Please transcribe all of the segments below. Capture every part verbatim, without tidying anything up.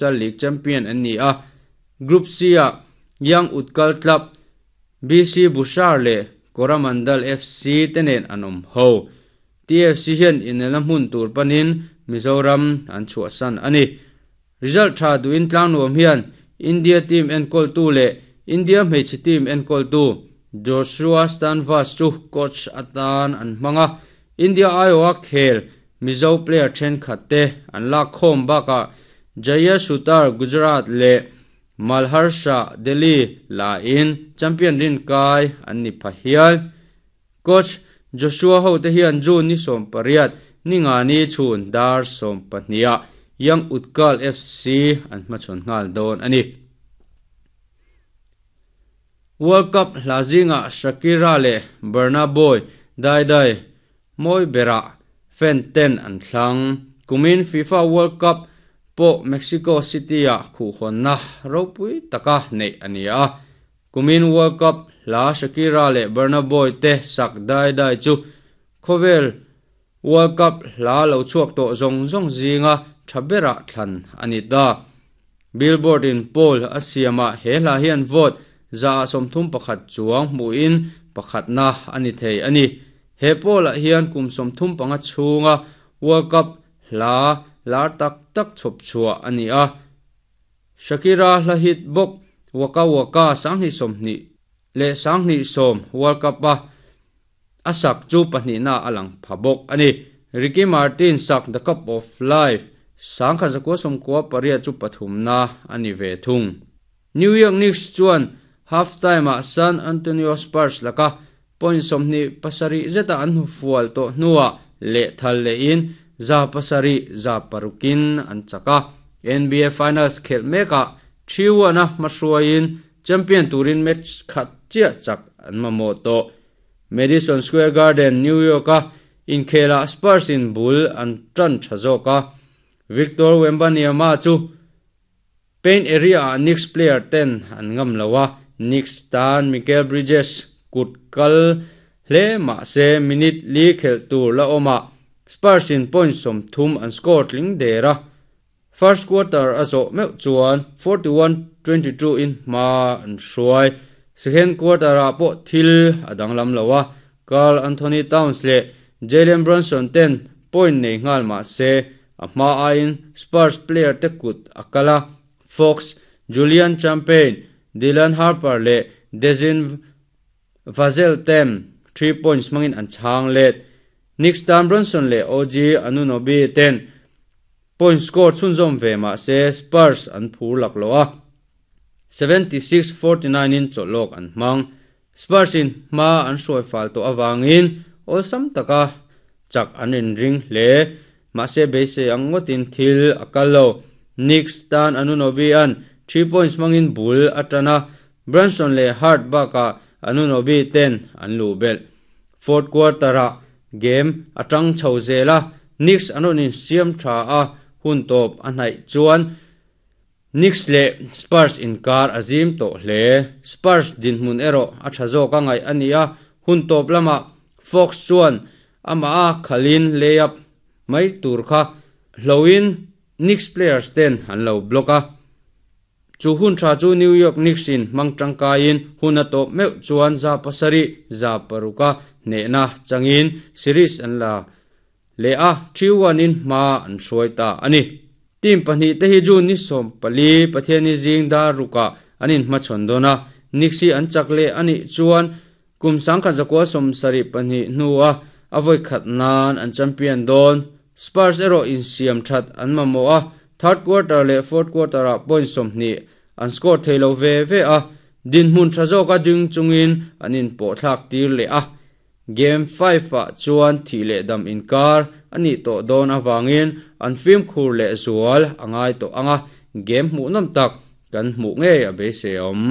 Futsal League champion an ni a. Group C ah Young Utkal Club, B C Bushehr leh Coromandel F C te nen an awm ho. T F C hian inelna hmun tur panin Mizoram an chhuahsan a ni. Result tha duhin Tlangnuam hian India team enkawltu leh India hmeichhe team enkawltu Joshua Stanvas chu coach atan an hmang a. India aiawha khel Mizo player thenkhat te an lak khawm bakah Jaya Sutar Gujarat leh Malhar Shah Delhi lain champion rin kai an ni pha hial. Coach Joshua ho te hian June ni sawm pariat ninga ni chhun dar sawm pahniha Young Utkal F C an hmachhawn nghal dawn a ni. World Cup hla zinga Shakira leh Burna Boy Dai Dai mawi berah fan ten an thlang. Kumin FIFA World Cup pawh Mexico City ah khuhhawnna ropui taka neih a ni a. Kumin World Cup hla Shakira leh Burna Boy te sak Dai Dai chu khawvel World Cup hla lo chhuak tawh zawng zawng zinga tha berah thlan a ni ta. Billboard in poll a siamah he hla hian vote za sawmthum pakhat chuang hmuhin pakhatna a ni thei a ni. He poll ah hian kum sawmthum panga chhunga World Cup hla lar tak tak chhawp chhuah a ni a. Shakira hla hit bawk Waka Waka sanghnih sawmhnih leh sanghnih sawm World Cup a a sak chu pahnihna a lang pha bawk a ni. Ricky Martin sak The Cup of Life sangkhat zakua sawmkua pariat chu pathumna a ni ve thung. New York Knicks chuan half time ah San Antonio Spurs laka point sawmhnih pasarih zeta an hnu fual tawh hnuah leh thal lehin za pasarih za parukin an chak a. N B A Finals khelh mekah three one a hmahruaiin champion turin match khat chiah chak an mamawh tawh. Madison Square Garden, New York a inkhela Spurs in bul an tan tha zawk a. Victor Wembanyama chu paint area ah Knicks player ten an ngam lo a. Knicks tan Mikal Bridges kut kal hle mah se minute li khelh tur la awm a. Spurs in point sawmthum an score tling der a. First quarter a zawh meuh chuan forty-one twenty-two in hma an hruai. Second quarter ah pawh thil a danglam lo a. Karl Anthony Towns leh Jalen Brunson ten point nei nghal mah se a hma aiin Spurs player te kut a kal a. Fox, Julian Champagne, Dylan Harper leh Devin Vassell ten three points hmangin an chhang let. Knicks tan Brunson leh O G Anunoby ten point score chhunzawm ve mah se Spurs an phur lak lo a. seventy-six forty-nine in chawlhawk an hmang. Spurs in hma an hruai fal tawh awangin awlsam taka chak an inring hle. Mah se beisei ang ngawtin thil a kal lo. Knicks tan Anunoby an three points hmangin bul a tan a. Brunson leh Hart bakah Anunoby ten an luh belh. Fourth quarter ah game a tang chho zel a. Knicks an rawn insiam tha a hun tawp a hnaih chuan Knicks leh Spurs inkar a zim tawh hle. Spurs dinhmun erawh a tha zawk a ngaih a ni a. Hun tawp lamah Fox chuan amah a khalin layup mai tur kha hloin Knicks players ten an lo block a. Chu hun tha chu New York Knicks in hmang tangkaiin hun a tawp meuh chuan za pasarih za paruka hnehna changin series an la leh a three one in hma an hruai ta a ni. Team pahnih te hi June ni sawm pali Pathiani zing dar ruka an inhmachhawn dawn a. Knicks hi an chak leh a nih chuan kum sangkhat zakua sawm sarih pahnih hnua a vawi khat nan an champion dawn. Spurs erawh insiam that an mamawh a. Third quarter leh fourth quarter ah point sawmhnih an score thei lo ve ve a. Dinhmun tha zawk a ding chungin an inpawh thlak tir leh a. Game five ah chuan thih leh dam inkar a nih tawh dawn awangin an fimkhur leh zual a ngai tawh anga. Game hmuh nawm tak kan hmuh ngei a beisei awm.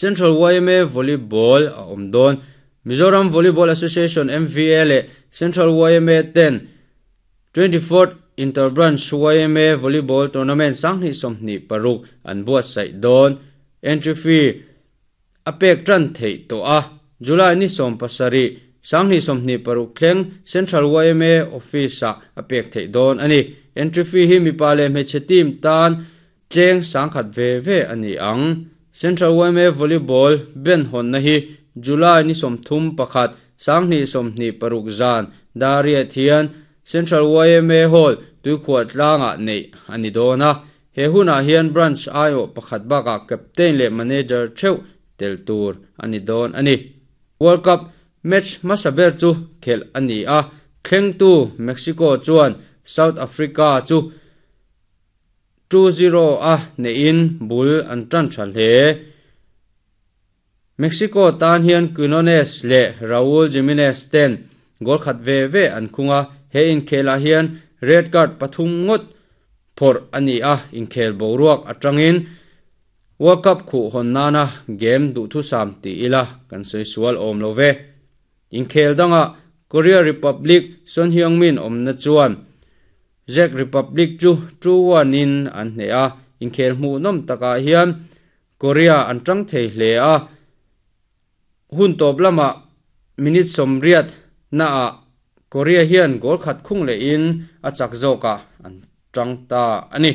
Central Y M A Volleyball a awm dawn. Mizoram Volleyball Association M V A leh Central Y M A ten twenty-fourth Interbranch Y M A Volleyball Tournament sanghnih sawmhnih paruk an buatsaih dawn. Entry fee a pek tan theih tawh a. July ni sawm pasarih sanghnih sawmhnih paruk thleng Central Y M A Office ah a pek theih dawn a ni. Entry fee hi mipa leh hmeichhe team tan Cheng sangkhat ve ve ani ang. Central Y M A Volleyball ben hon na hi July ni somthum pakhat sangni somni paruk zan daria thian Central Y M A Hall tuikhuat tlanga nei ani dona. He huna hian branch aio pakhat baka captain le manager theu tel tur ani don ani. World Cup match masaber chu khel ani a thleng tu Mexico chuan South Africa chu two zero a ne in bul an tran thal he. Mexico tan hian Quinones le Raul Jimenez ten goal khat ve ve an khunga. He in khela hian red card pathum ngot phor ani a in khel boruak atangin World Cup khu hon nana game du thu sam ti ila kan soi sual om lo ve. In khel danga Korea Republic Son Heung-min omna chuan Czech Republic chu two one in an hne a. In khel hmu nom taka hian Korea an tang thei hle a. Hun top lama minute somriat na a Korea hian goal khat khung le in a chak zoka an tang ta ani.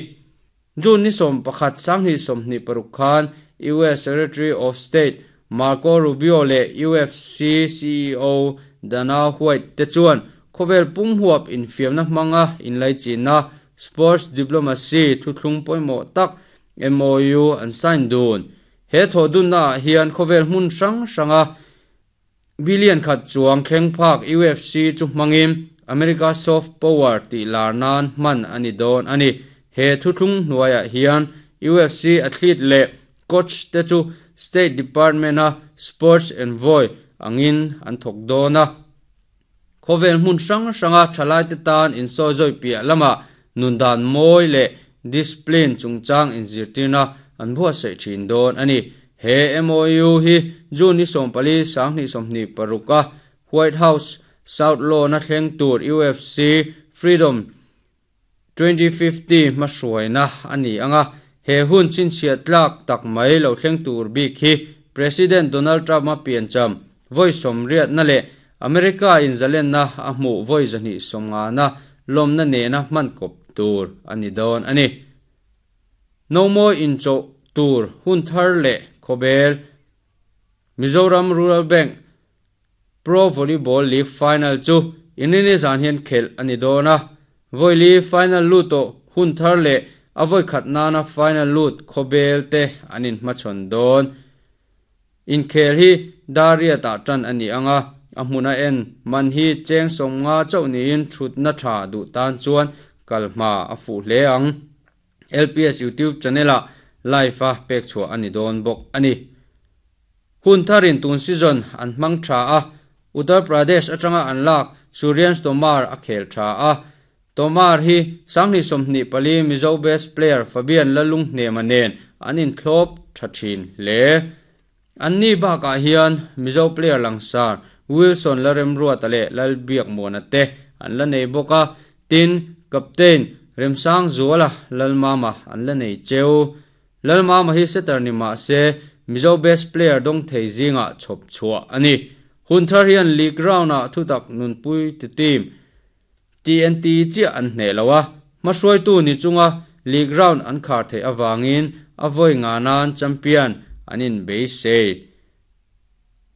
June ni som pakhat sangni somni paruk khan U S Secretary of State Marco Rubio le U F C C E O Dana White te chuan khovel pum huap in fiamna hmanga in lai china sports diplomacy thuthlung poimo tak M O U an sign dun. He thodun na hian khovel hmun sang sanga billion khat chuang thleng phak U F C chu hmangin America soft power ti larnan man ani don ani. He thuthlung hnuaia hian U F C athlete le coach te chu State Department a sports envoy angin an thok dona. Khovel hmun sang sanga thalai te tan in so zoi pia lama nundan moi le discipline chungchang in zirtina an bua sei thin don ani. He M O U hi June ni sompali sangni somni paruka White House South Law na thleng tur U F C Freedom twenty fifty masuaina ani anga. He hun chin sia tlak tak mai lo thleng tur bi khi President Donald Trump ma pian cham voi somriat na le America in zalen na a hmu voi zani somnga na lom na ne na man kop tur ani don ani. No more in cho tur hun thar le khobel Mizoram Rural Bank Pro Volleyball League Final chu inini zan hian khel ani dona. Voili final luto hun thar le avoi khatna na final lut khobel te anin hmachhawn don. In khel hi daria ta tan ani anga a hmuna en man hi cheng somnga chau niin thut na tha du tan chuan kalma a fu hle ang. L P S YouTube channel a live a pek chua ani don bok ani. Hun tharin tun season an hmang tha a Uttar Pradesh atanga an lak Suryan Tomar a khel tha a. Tomar hi sangni somni pali Mizo best player Fabian Lalung hnemanen anin thlop tha thin le. Anni baka hian Mizo player langsar Wilson Laremrua tale Lalbiak Mona te an la nei boka. Tin captain Remsang Zuala Lalmama an la nei cheu. Lalmama hi setter ni ma se Mizo best player dong thei zinga chhop chua ani. Hun thar hian league round a thutak nunpui ti team T N T chi an hne lowa masuai tu ni chunga league round an khar thei awangin avoi nga nan champion anin be se.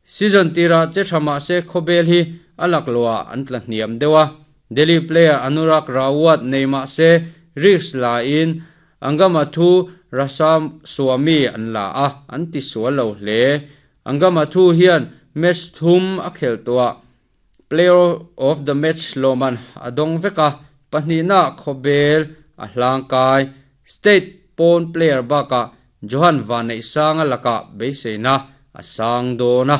Season tira che thama se khobel hi alak lowa an tla hniam dewa. Delhi player Anurak Rawat neima se risk la in angama thu Rasam Swami an la a an ti sual lo hle. Angama thu hian match thum a khel towa player of the match loman adong veka pahnina khobel a hlangkai state pawn player baka Johan Vanei sanga laka beiseina a sang dona.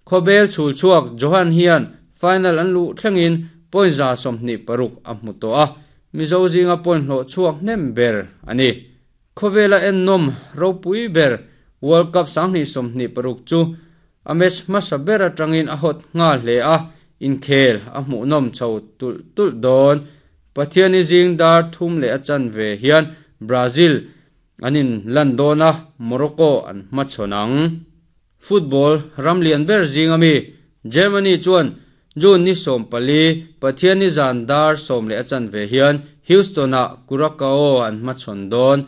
Khobel chul chuak Johan hian final an lu thlengin point za somni paruk a hmu to a Mizo zinga point hlo chuak hnem ber ani. Khobela en nom ropui ber World Cup sangni somni paruk chu a match hmasa ber atangin a hot nga hle a in khel a hmu nom chho tul tul don. Pathiani zing dar thum le a chan ve hian Brazil anin Landona Morocco an hmachhawnang. Football ramlian ber zingami Germany chuan June ni som pali Pathiani zan dar som le a chan ve hian Houston a Curacao an hmachhawn don.